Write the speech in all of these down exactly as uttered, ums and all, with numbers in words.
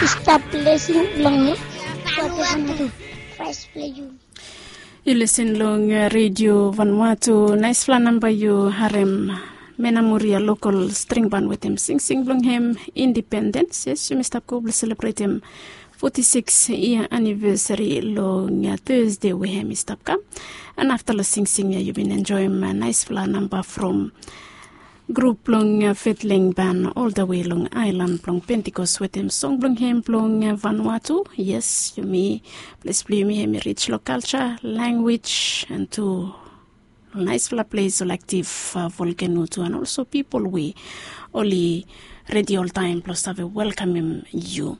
I stap lesin blong mi. Voice blong yumi. Yu lisen long redio Vanuatu. Naisfala namba yu harem. Mena Muria lokal string ban wetem singsing blong hem Independens. Yes, yumi stap go blong selebretem foti siks yia anivesari long Thursday we hem i stap kam. An afta long singsing ya yu bin enjoim naisfala namba from grup blong Fetling Ban oldawe long aelan blong Pentikos wetem song blong hem blong Vanuatu. Yes, yumi, ples blong yumi hem i rij long kalja, lanwis, an tu naisfala ples ol aktiv volkeno tu, an olso pipol we oli redi oltaem blong save welkamem yu.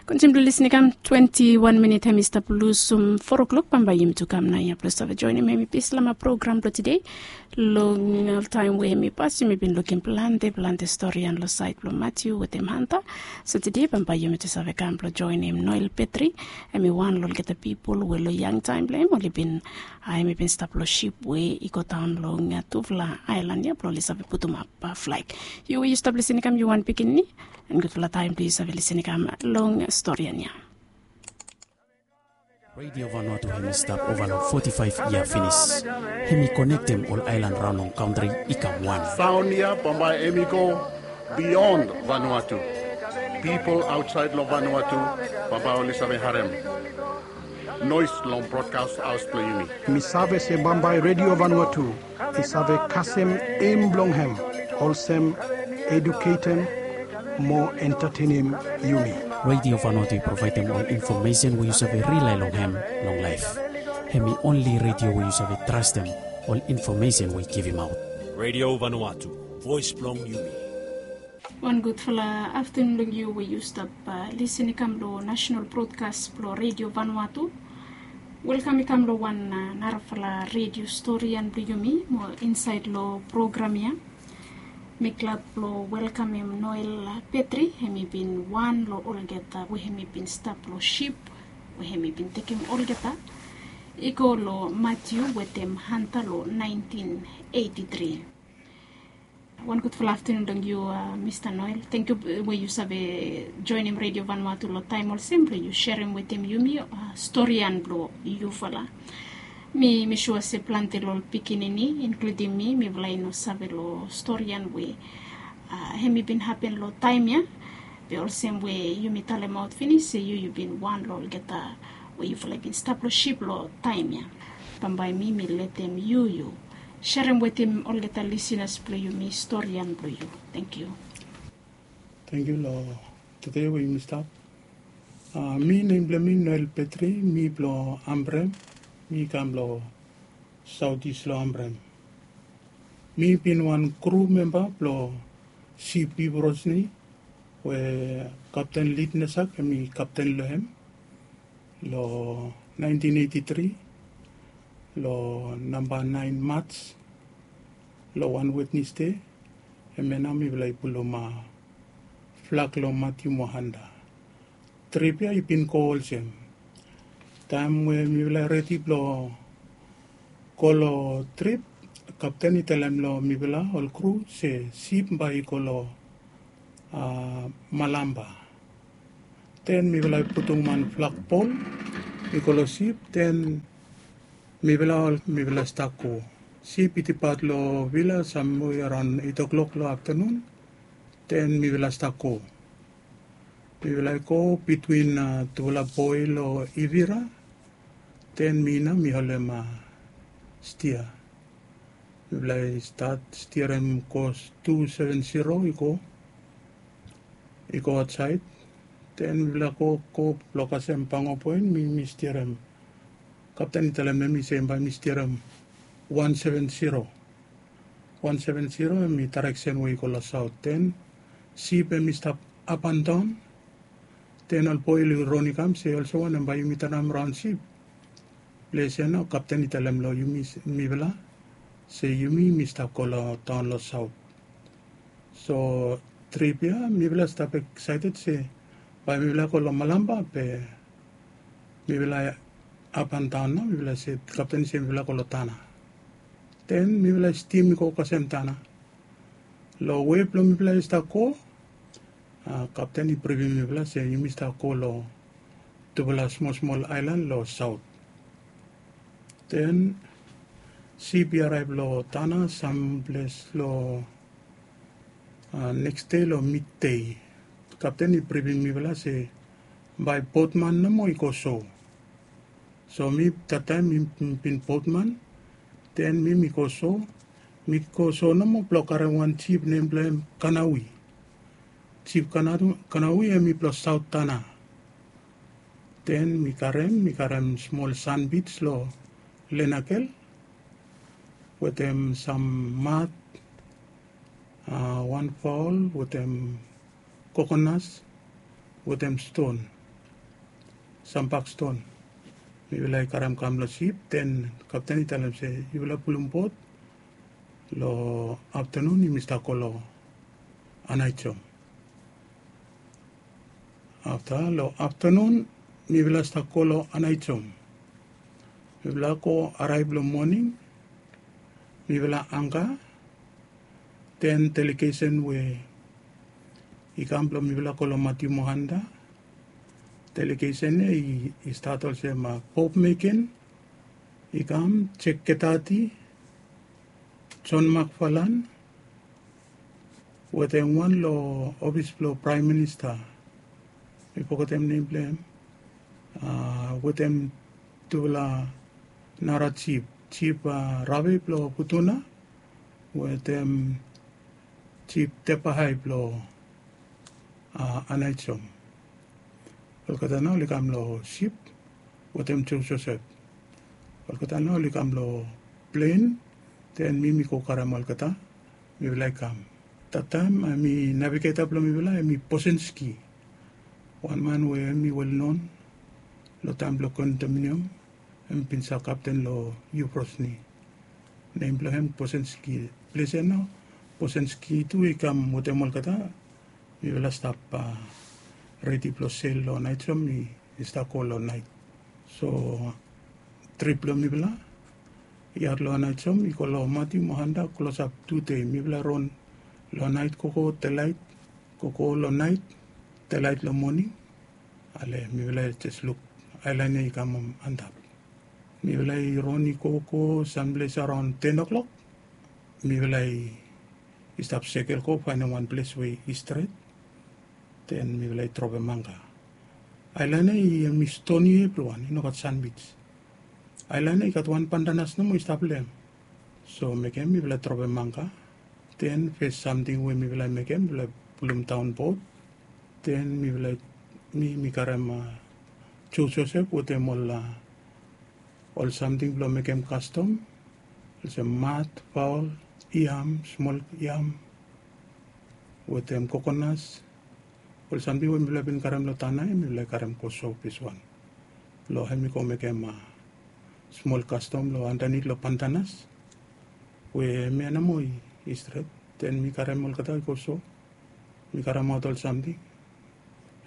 Kontiniu blong lisin i kam, twenti wan minit hem i stap lusum fo oklok. Bambae yumi tu kam naoia blong save joinim hem i pis long program blong tede. Long ol taem we hem i pas yumi bin lukim plante plante stori ya long saed blong Matiu wetem Hanta. So tede bambae yumi tu save kam blong joinim Noel Petri. Hem i wan long olgeta pipol we long yangtaem blong hem oli bin, a, hem i bin stap long sip we i godaon long tufala aelan ya blong oli save putumap flag. Yu we yu stap lisin i kam, yu wan pikinini, an gudfala taem blong yu save lisin i kam long stori ya. Redio Vanuatu hem i stap ova long foti faef yia finis. Hem i konektem ol aelan raon long kantri i kam wan. Saon ya bambae hem i go bion Vanuatu. Pipol aotsaed long Vanuatu bambae oli save harem noes long brodkas haos blong yumi. Mi save se bambae Redio Vanuatu i save kasem em blong hem olsem eduketem mo entatenem yumi. Redio Vanuatu i provaedem ol infomesen we yu save rilae long hem long laef. Hem i onli redio we yu save trastem ol infomesen we i givimaot. Redio Vanuatu, voes blong yumi. Wan gudfala aftanun long yu we yu stap lisin i kam long nasonal brodkas blong Redio Vanuatu. Welkam i kam long wan narafala redio storian blong yumi mo insaed long program ya. Mi glad blong welkamem Noel Petri. Hem i bin wan long olgeta we hem i bin stap long sip we hem i bin tekem olgeta i go long Matiu wetem Hanta long naentin eiti tri. Wan gudfala aftanun long yu, Mista Noel. Tangkiu we yu save joenem Redio Vanuatu long taem olsem blong yu serem wetem yumi storian blong yufala. Mi mi sua se plante long ol pikinini inkludim mi, mifala i no save long storian we hem i bin hapen long taem ya. Be olsem we yumi talemaot finis se yu yu bin wan long olgeta we yufala i bin stap long sip long taem ya. Bambae mi mi letem yu yu serem wetem olgeta lisinas blong yumi storian blong yu. Tangkiu. Tangkiu long tude we yumi stap. Mi nem blong mi Noel Petri, mi blong Ambrem. Mi kam long saotis long Ambrem. Mi bin wan kru memba blong C P Brosny we Kapten Lidnesak hem i kapten long hem long naentin eiti tri long namba naen Maj long wan Wednesde. Hemia nao mifala i pulum flag long Matiu mo Hanta. Trip ya i bin go olsem. Taem we mifala i redi blong go long trip, kapten i talem long mifala ol kru se sip bae i go long Malamba. Den mifala i putum wan flagpol i go long sip, den mifala ol mifala stap go. Sip i dipat long vila samwe araon eit oklok long aftanun. Den mifala stap go. Mifala i go bitwin tufala boe long Ivira. Den mi nao mi holem stia. Mifala i stat stiarem kos tu seven zero i go i go aotsaed. Den mifala go go blong kasem Pango Point, mi mi stiarem. Kapten i talem long mi se bae mi stiarem wan seven zero. Wan seven zero hem i daereksen we i go long saot. Den sip hem i stap apandaon. Den ol boe oli ron i kam se olsem wanem bae yumi tanam raon sip. Ples ya nao kapten i talem long yumi mifala se yumi mi stap go long taon long saot. So trip ya mifala stap eksaeted se bae mifala go long Malamba be mifala apandaon nao mifala se kapten i se mifala go long Tana. Den mifala stim i go kasem Tana. Long we blong mifala i stap go Kapten i brifim mifala se yumi stap go long tufala smol smol aelan long saot. Den sip i araev long tana samples long neks dei long midei. Kapten i brifim mifala se bae botman nomo i go so. So mi, tataem mi bin botman. Den mi mi go so, mi go so nomo blong karem wan jip nem blong hem Kanawi. Jip Kanawi hem i blong saot tana. Den mi karem mi karem smol sanbij long lenakel wetem sam mat, wan faol wetem kokonas wetem ston, sam bak ston. Mifala i karem kam long sip. Den kapten i talem se yufala pulum bot long aftanun yumi stap go long Anaijom. Afta long aftanun mifala stap go long Anaijom. Mifala go araev long moning. Mifala angka. Den delegesen we i kam blong mifala go long Matiu Mohanda. Delegesen ya i stat olsem Bob Meken i kam, Jek Ketati, Jon Makfalan, wetem wan long ofis blong praem minista, mi fogetem nem blong hem, wetem tufala nara jip, jip Rave blong Futuna wetem jip Tepahai blong Anaijom. Olgeta nao oli kam long sip wetem Joe Joseph. Olgeta nao oli kam long plen. Den mi mi go karem olgeta. Mifala i kam. Tataem hemi navigeta blong mifala hemi Bosenski, wan man we hemi welnon long taem blong kondominium. Hem bin stap kapten long Yubrosni. Nem blong hem Bosenski. Ples ya nao Bosenski tu i kam wetem olgeta. Mifala stap redi blong sel long Anaijom, mi stap go long naet. So trip blong mifala i at long Anaijom i go long Matiu Mohanda klosap tu dei. Mifala ron long naet gogo delaet, gogo long naet, delaet long moning. Ale mifala jes luk aelan ya i kam antap. Mifala i ron i gogo samples araon ten o'clock. Mifala i stap sekel go faenem wan ples we i stret. Den mifala i dropem angka. Aelan ya i hemi stoni evriwan, i nogat sanbij. Aelan ya i gat wan pantanas nomo i stap long hem. So mekem mifala dropem angka. Den fes samting we mifala mekem, mifala pulum daon bot. Den mifala, mi mi karem Joe Joseph wetem ol ol samting blong mekem kastom, olsem mat, faol, yam, smol yam, wetem kokonas. Ol samting we mifala bin karem long tana ya mifala i karem go so peswan. Blong hemi go mekem smol kastom long andanit long pantanas we hemia nomo i stret. Den mi karem olgeta i go so. Mi karemaot ol samting.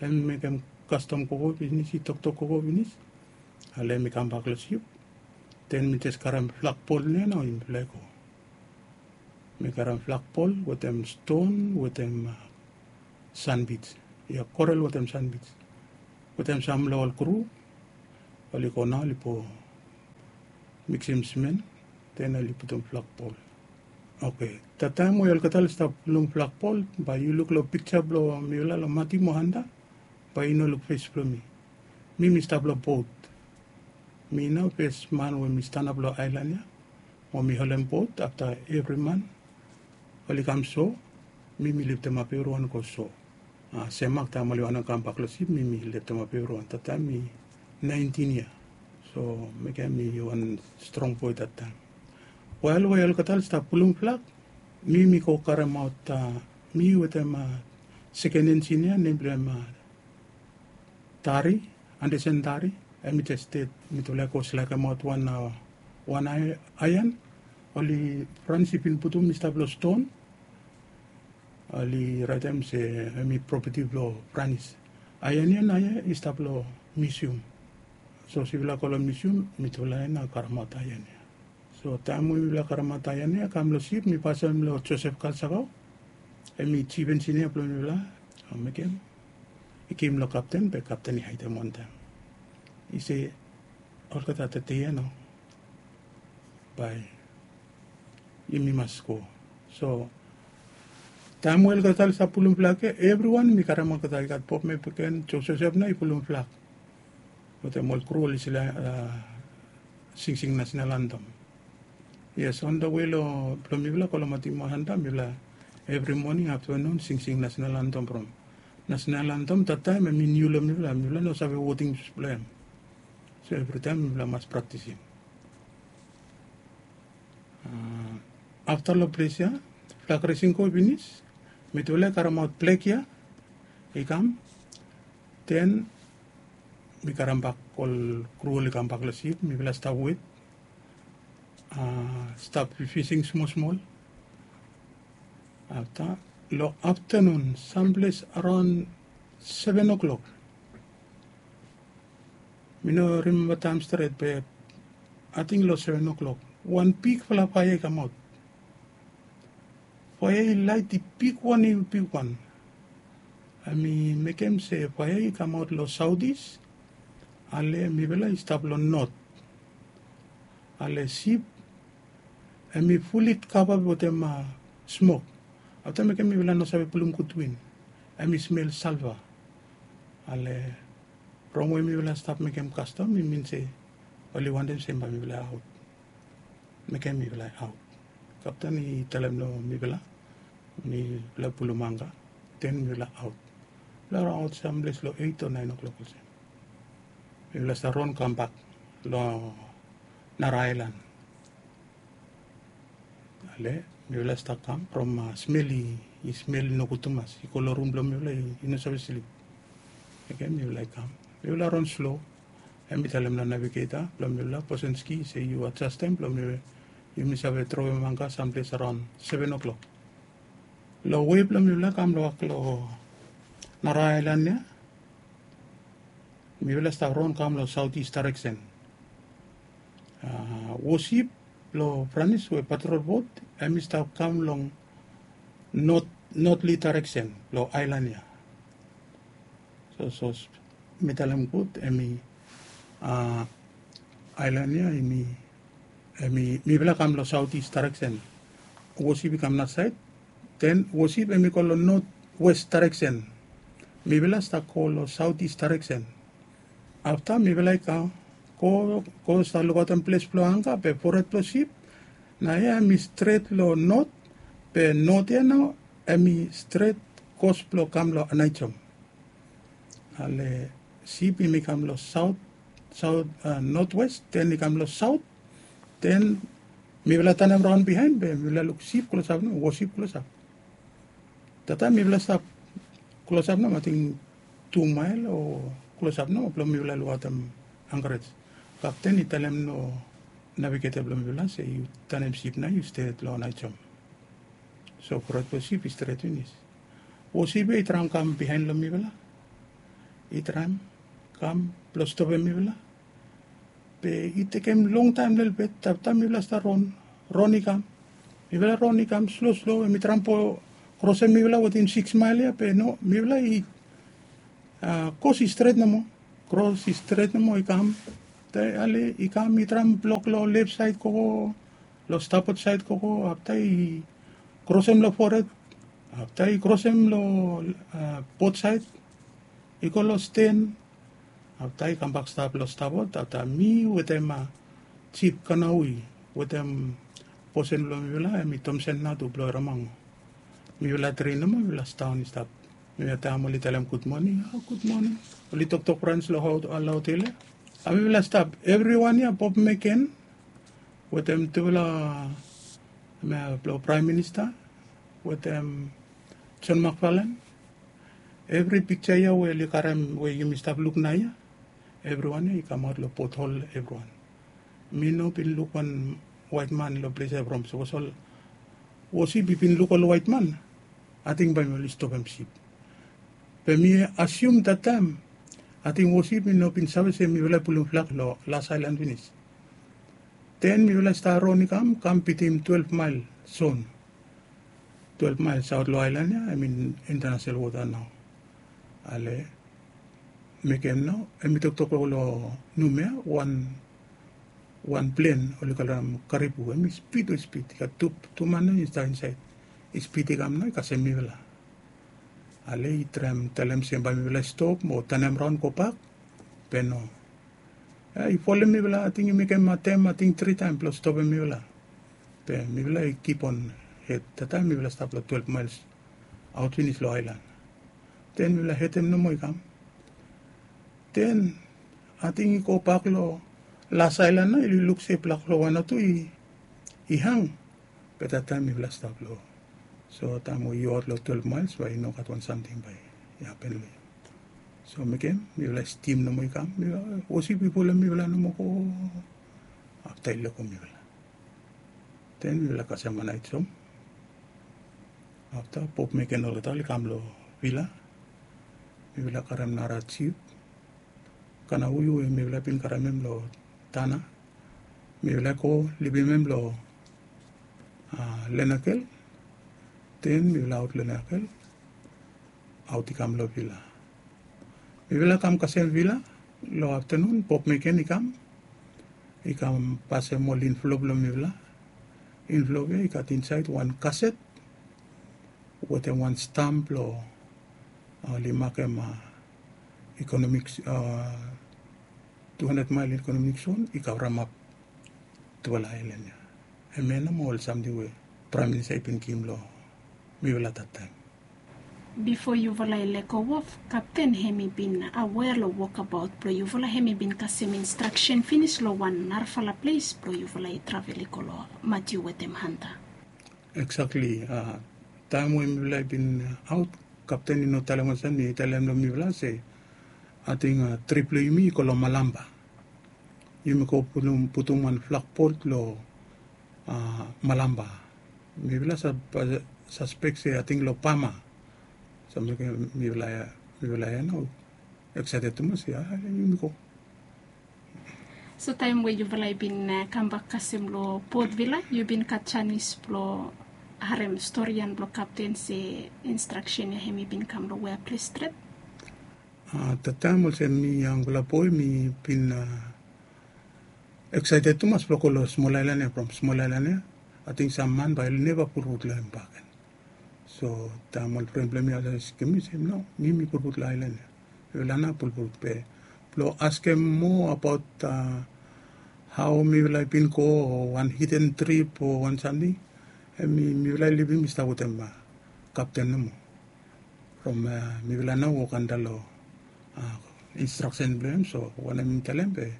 Hem mekem kastom gogo finis, i toktok gogo finis. Ale mi kambak long sip. Den mi jes karem flagpol nia nao mifala i go. Mi karem flagpol wetem ston wetem sanbij. Ya, korel wetem sanbij. Wetem sam long ol kru oli go nao oli po miksim simen, den oli putum flagpol. Oke, tataem we olgeta oli stap pulum flagpol, bae yu luk long pikja blong mifala long Matiu Mohanda, bae yu no luk fes blong mi. Mi mi stap long bot. Mi nao fes man we mi stanap long aelan ya mo mi holem bot afta evri man oli kam so. Mi mi liftemap evriwan go so. Semak taem oli wantem kambak long sip, mi mi liftemap evriwan. Tataem mi naentin yia. So mekem mi wan strong boe tataem. Wel, we olgeta oli stap pulum flag, mi mi go karemaot, mi wetem seken enjinia nem blong hem Tari, Andersen Tari. Hem i jes stet mitufala i go slekemaot wan, wan aean. Oli Franis i bin putum i stap long ston. Oli raetem se hem i propeti blong Franis. Aean ya nao ya i stap long miusiam. So sipela go long miusiam, mitufala ya nao karemaot aean ya. So taem we mifala karemaot aean ya, kam long sip mi pasem long Josef Kalsakao. Hem i jif enjinia blong mifala. Mekem i givim long kapten, be kapten i haedem wantaem. I se olgeta tete ia nao bae yumi mas go. So taem we olgeta oli stap pulum flag ia, evriwan mi karem olgeta, i gat Bob Mcpacken, Joe Joseph nao i pulum flag wetem ol kru oli sila singsing nasenal antem. Yes, on the way long blong mifala go long Matimua Santa, mifala evri moning, aftanun, singsing nasenal antem from nasenal antem dat taem em i niu long mifala, mifala no save wodings blong em. So evritaem mifala mas praktisim. Afta long ples ia, flag resing go finis, mitufala i karemaot flag ia i kam. Den mi karem bak ol kru oli kambak long sip, mifala stap wet, stap fising smol smol. Afta long aftanun, samples araon seven o'clock, mi no rimemba taem stret, be ating long seven o'clock wan bigfala faea i kamaot. Faea i laet i bigwan, i bigwan. Hem i mekem se faea i kamaot long saotis. Ale mifala i stap long not. Ale sip hem i fuli kava wetem smok. Afta mekem mifala no save pulum gud win. Hem i smel salva. Ale from we mifala stap mekem kastom, i min se oli wantem se bae mifala aot. Mekem mifala aot. Kapten i talem long mifala, mifala pulum anga, den mifala aot. Mifala raon aot samples long eit o naen o'clock olsem. Mifala stap ron kambak long nara aelan. Ale mifala stap kam from smel i smel nogud tumas i go long rum blong mifala, i no save slip. Mekem mifala i kam, mifala ron slo. Hem i talem long navigeta blong mifala, Posenski, se yu adjastem blong yumi save trowem anga samples araon seven o'clock. Long wei blong mifala kam long wok long nara aelan ia, mifala stap ron kam long saotis daereksen. Wosip blong Franis we patrol bot, hem i stap kam long notli daereksen blong aelan ia. So sapos mi talem gud, hem i aelan ia hem i, mifala kam long saotis daereksen. Wosip i kam nasaed, den wosip hem i go long notwes daereksen. Mifala stap go long saotis daereksen. Afta mifala i kam go, go stap lukaotem ples blong anga, be fored blong sip naoia hem i stret long not, be not ia nao hem i stret kos blong kam long Anaijom. Ale sip hem i kam long saot, saot, notwes, den i kam long saot, den mifala tanem raon biaen, be mifala luk sip klosap nomo, wosip klosap. Dat taem mifala stap klosap nomo, ating tu mael o klosap nomo blong mifala lukaotem ankrets. Kapten i talem long navigeta blong mifala se yu tanem sip nao yu stret long Anaijom. So fored blong sip i stret finis. Wosip ia i traem kam biaen long mifala, i traem kam blong stopem mifala. Be i tekem longtaem lelebet, afta mifala stap ron, ron i kam. Mifala ron i kam slo slo, hem i traem blong krosem mifala wetem siks mael ia, be no, mifala i kros i stret nomo. Kros i stret nomo i kam. Ale i kam i traem blok long lef saed gogo, long stapot saed gogo, afta i krosem long fored, afta i krosem long bot saed, i go long sten, afta i kambak stap long stapot. Afta mi wetem Jif Kanawi wetem bosen blong mifala, hem i Tomsen nao tu blong Eremang. Mifala tri nomo, mifala sidaon i stap. Mifala taem oli talem gud moning, a gud moning, oli toktok Franis long hao, long hotel ia. A mifala stap, evriwan ia, Bob Meken wetem tufala blong Praem Minista wetem John McFarlane. Evri piksa ia we oli karem we yumi stap luk naoia, evriwan ia i kamaot long pothol evriwan. Mi no bin luk wan waetman long ples ia from sapos ol wosip i bin luk ol waetman, ating bae mi oli stopem sip. Be mi asium dat taem ating wosip i no bin save se mifala i pulum flag long las aelan finis. Den mifala i stat ron i kam, kam bitim twelef mael zon. Twelef mael saot long aelan ia, hem i intanasonal wota nao. Ale mekem nao em i toktok long numea wan wan plen oli kalem karipu em i spid we spid i gat tu tu man nao i stap insaed i spid i kam nao i kasem mifala. Ale i traem talem se bae mifala i stop mo tanem raon gobak. Be no, i folem mifala ating i mekem atem ating tri taem blong stopem mifala. Be mifala i kipon hed tataem mifala stap long twelef maels aot finis long aelan. Den mifala hedem nomo i kam. Den ating i gobak long las aelan nao i luk se blak long wan o tu i hang. Be tataem mifala stap long so taem we yu aot long twelef maels bae i no gat wan samting bae i hapen long yu. So mekem mifala stim nomo i kam mifala wosip i folem mifala nomo go. Afta i lego mifala den mifala kasem wan aetom. Afta pop meken olgeta oli kam long vila. Mifala karem nara jip kana uyu we mifala bin karem hem long tana. Mifala i go libim hem long lenakel. Den mifala aot lenakel aot i kam long vila. Mifala kam kasem vila long aftanun pop meken i kam i kam pasem ol inflop long mifala. Inflop ya i gat insaed wan kaset wetem wan stam blong oli makem ikonomik tu handred mael ikonomik zon i kavremap tufala aelan ya. Hemia nao mo ol samting we praem minista i bin givim long mifala tataem. Bifo yufala i lego of kapten hem i bin awea long wokabaot blong yufala hem i bin kasem instraksen finis long wan narafala ples blong yufala i travel i go long matiu wetem hanta. Eksakli. Taem we mifala i bin aot kapten i no talem olsem i talem long mifala se ating trip blong yumi i go long malamba. Yumi go putum wan flakbot long malamba. Mifala saspek se ating long pama. So mifala ya nao eksaeted tumas ya yumi go. So taem we yufala i bin kambak kasem long potvila yu bin gat janis blong harem storian blong kapten se instraksen ya hem i bin kam long wea ples stret? Tataem olsem mi yangfala boe mi bin eksaeted tumas blong go long smol aelan ya from smol aelan ya. Ating sam man bae oli neva pulput long hem baken. So taem ol pren blong mi oli askem mi se no mi mi pulput long aelan ya. Yufala nao pulput be blong askem moa abaot hao mifala i bin go o wan hiden trip o wan samting. Hem mifala i libim i stap wetem kapten nomo. From mifala nao wok antap long instraksen blong hem so wanem mi talem be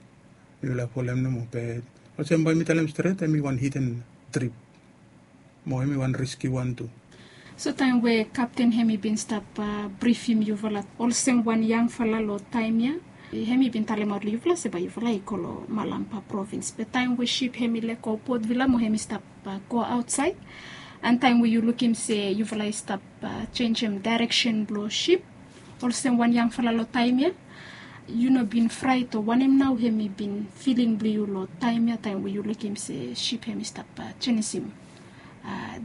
mifala folem nomo be olsem bae mi talem stret hem i wan hiden trip. Mo hem i wan riski wan tu. So taem we kapten hem i bin stap brifim yufala olsem wan yangfala long taem ya hem i bin talemaot long yufala se bae yufala i go long malamba provins be taem we sip hem i lego potvila mo hem i stap go aotsaed an taem we yu lukim se yufala i stap jenisim daereksen blong sip olsem wan yangfala long taem ya yu no bin fraet o wanem nao hem i bin filing blong yu long taem ya taem we yu lukim se sip hem i stap jenisim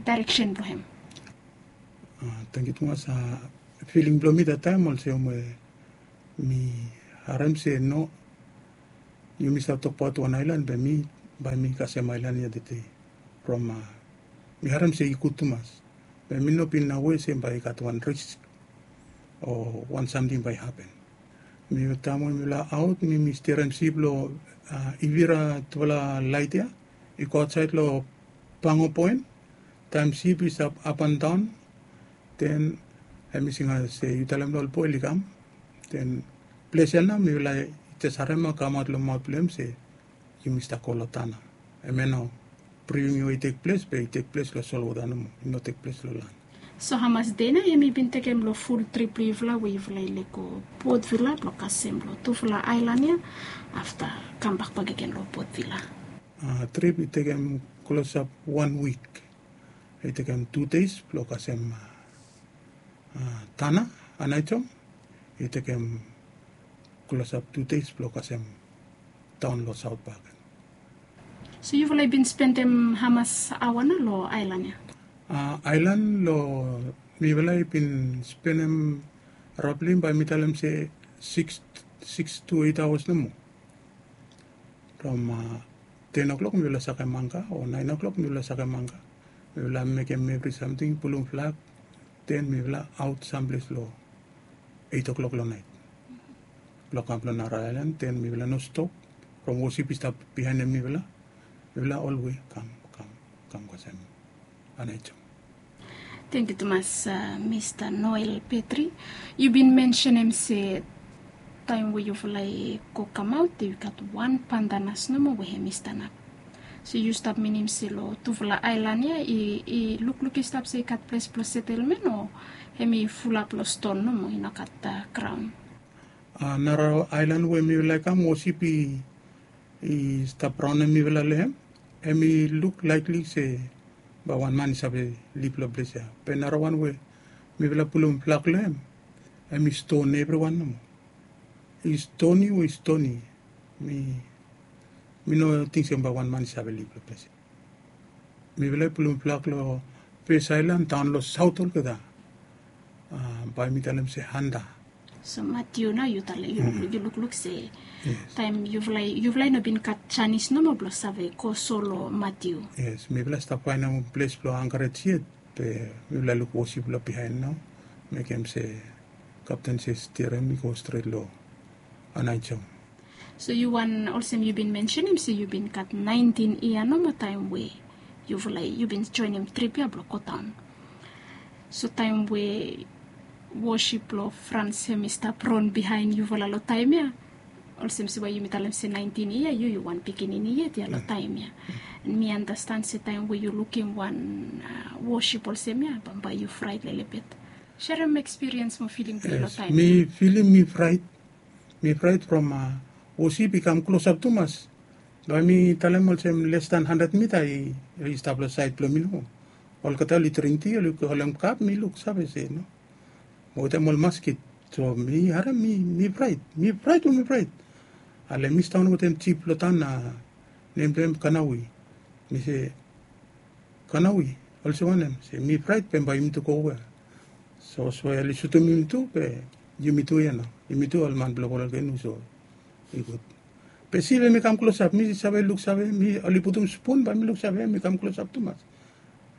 daereksen blong hem? Tangkiu tumas. Filing blong mi tataem olsem we mi harem se no yumi stap tokbaot wan aelan be mi bae mi kasem aelan ya tede. From mi harem se i gud tumas be mi no bin awe se bae i gat wan risk o wan samting bae i hapen. Mi taem we mifala aot mi mi stirem sip long ivira tufala laet ya i go aotsaed long pango poen. Taem sip i stap apandaon den hem i singaot se yu talem long ol boe oli kam. Den ples ya nao mifala i jes harem ya kamaot long maot blong hem se yumi stap go long tana. Hem ya nao briwing ya we i tekples be i tekples long solwota nomo i no tekples long lan. So hamas dei nao hem i bin tekem long ful trip blong yufala we yufala i lego potvila blong kasem long tufala aelan ya afta kambak bakegen long potvila? Trip i tekem klosap wan wik. I tekem tu deis blong kasem tana anaejom. I tekem klosap tu deis blong kasem taon long saot baken. So yufala i bin spendem hamas aoa nao long aelan ya? Aelan long mifala i bin spendem Rabli bae mi talem se siks siks tu eit aoas nomo. From ten o'klok mifala sakem angka o naen o'klok mifala sakem angka. Mifala mekem evri samting pulum flag, ten mifala aot samples long eit o'klok long naet. Blong kam long nara aelan ten mifala no stop. From wosip i stap bihaenem mifala. Mifala olwe kam kam kam kasem. Anaejo. Tengkiu tumas, mista noel petri. Yu bin mensenem se taem we yufala i go kamaot i gat wan pandanas nomo we hem i stanap. So yu stap minim se long tufala aelan ya i lukluk i stap se i gat ples blong setelmen o hem i fulap long ston nomo i no gat graon? Nara aelan we mifala i kam wosip i stap raonem mifala long hem, hem i luk laekli se bae wan man i save lip long ples ya. Be nara wan we mifala pulum flak long hem, hem i ston evriwan nomo. I stoni we i stoni. Mi mi no ting se bae wan man i save lip long ples ya. Mifala i pulum flak long fes aelan daon long saot olgeta. Bae mi talem se handa. So matiu nao yu talem yu lukluk se taem yufala i no bin gat janis nomo blong save go so long matiu. Yes, mifala i stap faenem ples blong angaret yet. Be mifala i luk wosip long bihaen nao mekem se kapten se stirem i go stret long anaejong. So yu wan olsem yu bin mensenem se yu bin gat naentin yia nomo taem we yufala yu bin joenem trip ya blong godaon. So taem we wosip blong frans hem i stap ron bihaen yufala long taem ya, olsem se we yumi talem se naentin yia yu yu wan pikinini yet ya long taem ya. Mi andastan se taem we yu lukim wan wosip olsem ya bambae yu fraet lelebet. Serem ekspiriens mo filing blong yu long taem ya. Mi filim mi fraet. Mi fraet from wosip i kam klosap tumas. Bae mi talem olsem les dan handred mita i stap long saed blong mi nomo. Olgeta oli dring ti oli holem kap mi luksave se no. Wetem ol masket. So mi harem mi fraet mi fraet we mi fraet. Ale mi staon wetem jip long taon na nem blong hem kanawi. Mi se kanawi olsem wanem se mi fraet be bae yumi tu go we? So so oli sutum yumi tu be yumi tu ya nao. Yumi tu ol man blong ol olgeta nu so i gud. Be stil hem i kam klosap mi save luksave mi oli putum spun bae mi luksave hem i kam klosap tumas.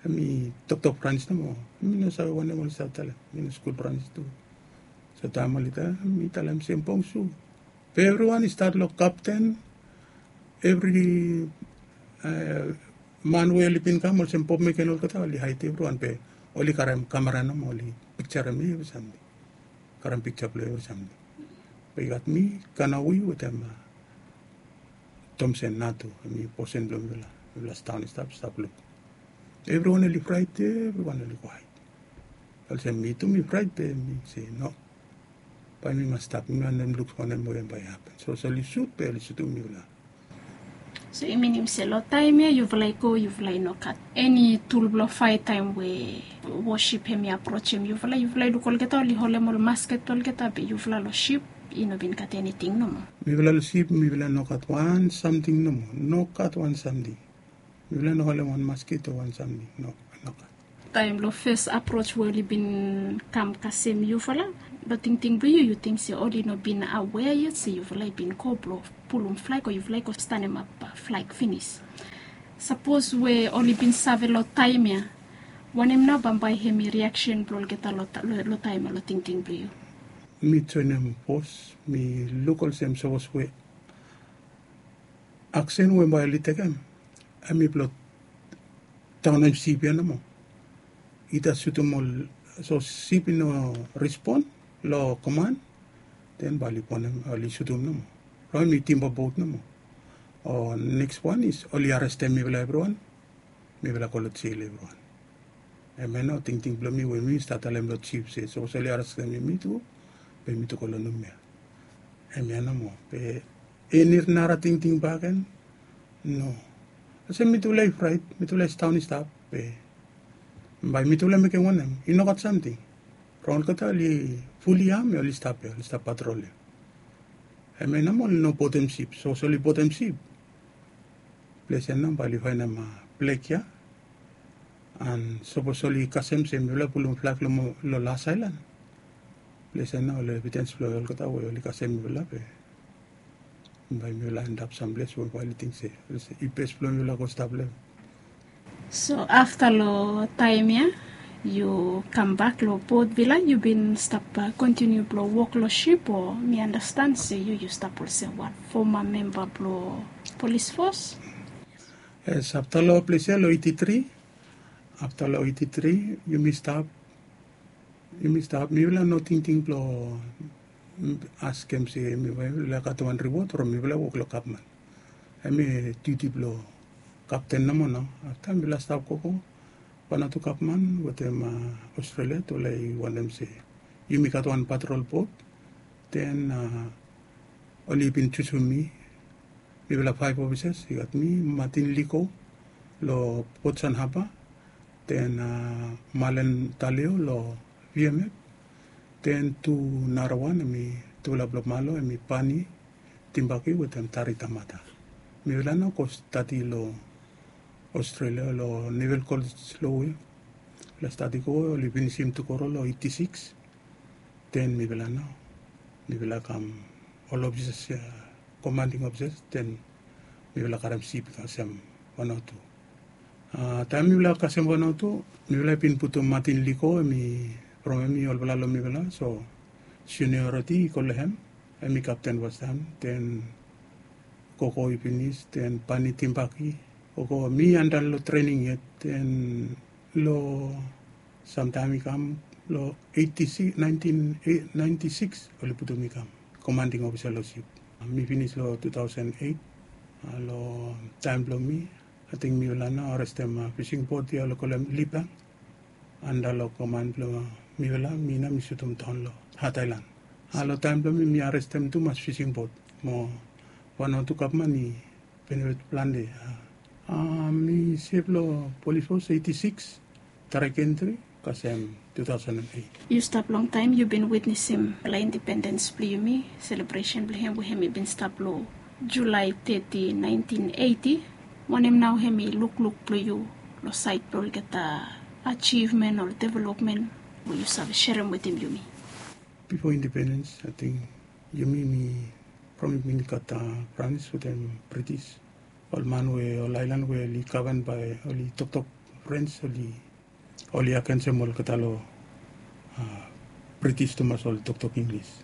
Hem i toktok franis nomo. Mi no save wanem oli save talem mi no skul franis tu. So taem oli talem mi talem sem bong su. Be evriwan i stat long kapten. Evri man we oli bin kam olsem bob meken olgeta oli haed evriwan be oli karem kamera nomo oli pikjarem evri samting. Karem pikja blong evri samting. Be i gat mi kanawi wetem tomsen natu hem i bosen blong mifala. Mifala staon i stap stap luk. Evriwan oli fraet evriwan oli go haed. Olsem mi tu mi fraet be mi se no. Bae mi mas stap mi wantem luk wanem we bae i hapen so oli sut be oli sutum mifala. So i minim se long taem ya yufala i go yufala i no gat eni tul blong faet taem we wosip hem i aprojem yufala yufala i luk olgeta oli holem ol masket olgeta be yufala long sip i no bin gat eniting nomo? Mifala long sip mifala no gat wan samting nomo. No gat wan samting. Mifala no holem wan masket o wan samting no. Taem long fes aproj we oli bin kam kasem yufala, long tingting blong yu yu ting se oli no bin awea yet se yufala i bin go blong pulum flag o yufala i go stanemap flag finis? Sapos we oli bin save long taem ya, wanem nao bambae hem i riaksen blong olgeta long taem ya long tingting blong yu? Mi joenem fos mi luk olsem sapos we aksen we bae oli tekem hem i blong taonem sip ya nomo. Ita sutum ol so sip i no respon long koman, den bae oli bonem oli sutum nomo. Long hem i timba bot nomo. O neks wan is oli arestem mifala evriwan. Mifala go long jel evriwan. Hemia nao tingting blong mi we mi stat talem long jif se sapos oli arestem yumi tu, be mi tu go long numia. Hemia nomo be eni nara tingting baken? No. Olsem mitufala i fraet mitufala i staon i stap be bae mitufala mekem wanem? I no gat samting. Rong olgeta oli fuli yam ya oli stap ya oli stap patrol ya. Hemia nomo oli no botem sip sapos oli botem sip, ples ya nao bae oli faenem blek ya. An sapos oli kasem se mifala pulum flag long las aelan, Ples ya nao ol evidens blong olgeta we oli kasem mifala be bae mifala endap samples we bae oli ting se i bes blong mifala go stap long hem. So afta long taem ya yu kambak long Port Vila, yu bin stap kontiniu blong wok long sip, o mi andastan se yu yu stap olsem wan foma memba blong polis fos? Yes, afta long ples ya long eighty three, afta long eighty three yumi stap, yumi stap, mifala no tingting blong askem se mifala gat wan riwod from mifala wok long gavman. Hemi duti blong kapten nomo nao. Afta mifala stap gogo, Vanuatu gavman wetem Australia tufala i wantem se yumi gat wan patrol bot. Den oli bin jusum mi. Mifala faef ofisas, i gat mi, Martin Liko long Port San Haba, den Malen Talio long V M F, den tu narawan hemi tufala blong Malo, hemi Pani Timbaki wetem Tari Tamata. Mifala nao go stadi long Australia long Naval College long Wales. Mifala stadi go, oli finisim tugoro long eighty six. Den mifala nao mifala kam ol ofisas ya, komanding ofisas, den mifala karem sip i kasem Vanuatu. Taem mifala kasem Vanuatu, mifala i bin putum Martin Liko, hemi from hemi olfala long mifala, so seniority i go long hem. Hemi kapten fastaem, den gogo i finis, den Pani Timbaki, gogo, mi anda long trening yet, den long samtaem i kam long eighty six, nineteen ninety six oli putum mi kam komanding ofisa long sip. Mi finis long two thousand eight. Long taem blong mi, ating mifala nao arestem fising bot ya oli kolem Lipang. Anda long koman blong mifala, mi nao mi sutum daon long Hat Aelan. Long taem blong mi, mi arestem tumas fising bot mo Vanuatu gavman i benefit plante. Mi sef long polis fos eighty six, Tarekentri, kasem two thousand and eight. Yu stap longtaem, yu bin witnesim long indipendens blong yumi, selebresen blong hem we hem i bin stap long Julae thirty, nineteen eighty. Wanem nao hem i lukluk blong yu long saed blong olgeta ajivmen o developmen we yu save serem wetem yumi? Bifo indipendens, ating yumi mi from yumi gat Frans wetem British. Ol man we, ol aelan we oli gaven bae oli toktok Frans, oli oli agensem olgeta long British tumas, oli toktok Inglis.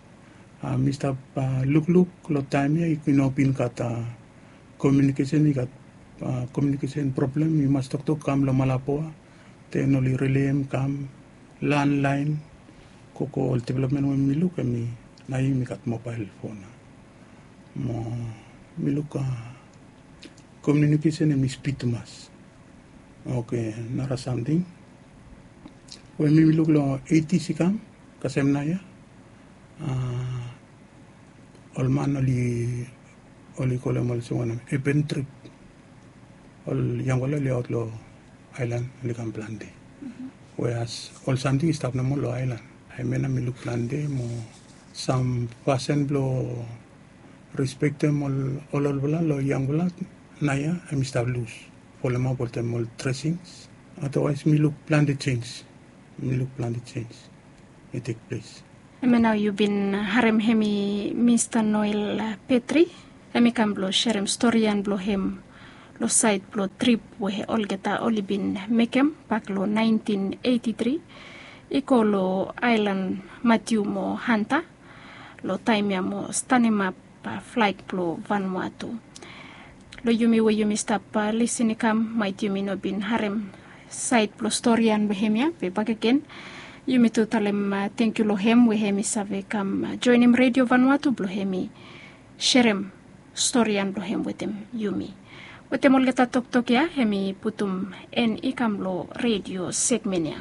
Mi stap lukluk long taem ya i no bin gat komiunikesen, i gat komiunikesen problem, i mas toktok kam long Malabo. Den oli rileim kam landlaen, gogo, ol developmen we mi luk hemi naoia yumi gat mobael fon. Mo mi luk komiunikesen hemi spid tumas. Oke, nara samting we mi mi luk long eighties i kam kasem naoia, ol man oli, oli kolem olsem wanem, urban trip. Ol yangfala oli aot long aelan, oli kam plante. Weas ol samting i stap nomo long aelan. Hemia nao mi luk plante mo sam fasin blong respektem ol olfala long yangfala naoia hemi stap lus. Folem ap oltem ol dresings. Otherwise mi luk plante jenis. Mi luk plante jenis i tek ples. Hemia nao yu bin harem hemi Mista Noel Petri. Hemi kam blong serem storian blong hem long saed blong trip we olgeta oli bin mekem bak long nineteen eighty three i go long aelan Matiu mo Hanta long taem ya mo stanemap flag blong Vanuatu. Long yumi we yumi stap lisin i kam, maet yumi no bin harem saed blong storian blong hemia, be bakegen yumi tu talem tangkiu long hem we hemi save kam joenem Redio Vanuatu blong hemi serem storian blong hem wetem yumi. Wetem olgeta toktok ya hemi putum en i kam long redio segmen ya.